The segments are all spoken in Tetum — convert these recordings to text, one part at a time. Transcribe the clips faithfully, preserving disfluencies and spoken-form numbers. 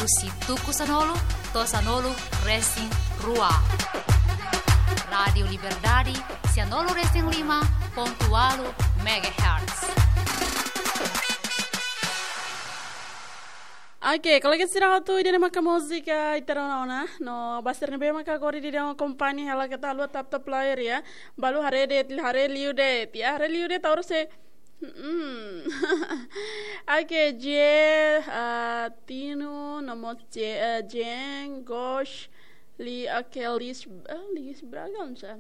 Husi tuku sanulu to'o sanulu resin rua. Rádiu Liberdade, sanulu resin lima pontu ualu megahertz. Oke, kolega sira hotu, ida-ne'e maka múzika ita rona ona. No, ba sira ne'ebé maka agora daudaun akompaña hela, keta haluha tap-tap layar ya. Balu haree de'it, haree liu de'it ya, haree liu de'it, taur se. Hmm. Oke, Je, ah, Tino, no mós Je, ah, Jen, Gosh, Li, oke, Lis, ah, Lis Bragança.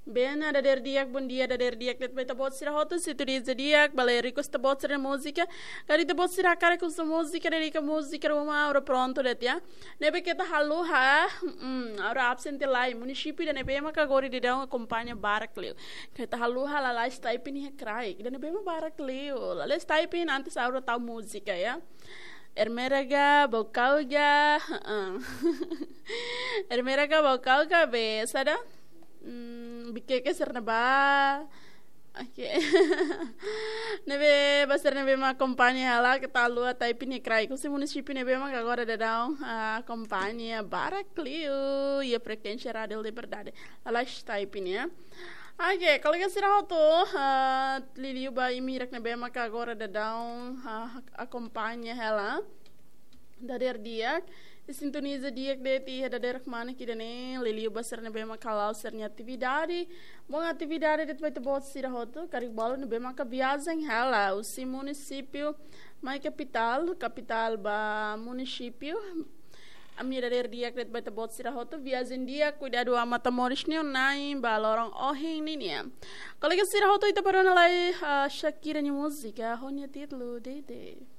Bena, dadeer di'ak, bondia, dadeer di'ak de'it ba ita-boot sira hotu, sintoniza di'ak, bele request ita-boot sira múzika. Karik ita-boot sira hakarak husu múzika, dedika múzika ruma, agora prontu de'it ya. Ne'ebé keta haluha, mm, agora absente lai, munisípiu ida-ne'ebé maka agora daudaun akompaña barak liu. Keta haluha, lalais typing iha kraik, ida-ne'ebé mak barak liu. Lalais typing, antes agora tau múzika ya. Ermera ga, Baucau ga, heeh. Ermera ga, Baucau ga, be, saida? Hmm, Viqueque sira-ne'e ba. Oke. Ne'ebé, ba sira ne'ebé mak akompaña hela, keta haluha typing iha kraik. Husi munisípiu ne'ebé mak agora daudaun, ah, akompaña barak liu iha frekuénsia Rádiu Liberdade. Lalais typing ya. Oke, kolega sira hotu, ah, liuliu ba imi hirak ne'ebé maka agora daudaun, ah, akompaña hela. Dadeer di'ak, sintoniza di'ak de'it iha dadeer kmanek ida-ne'e, liuliu ba sira ne'ebé maka la'o sira-nia atividade. Bom atividade de'it ba ita-boot sira hotu, karik balu ne'ebé maka viajen hela, husi munisípiu mai kapitál, kapitál ba munisípiu. Ami dadeer di'ak de'it ba ita-boot sira hotu, viajen di'ak, kuidadu ho matan-moris nian, Na'i, ba loron ohin ninian. Kolega sira hotu, ita bá rona lai, ah, Shakira nia múzika, ho nia títulu Dede.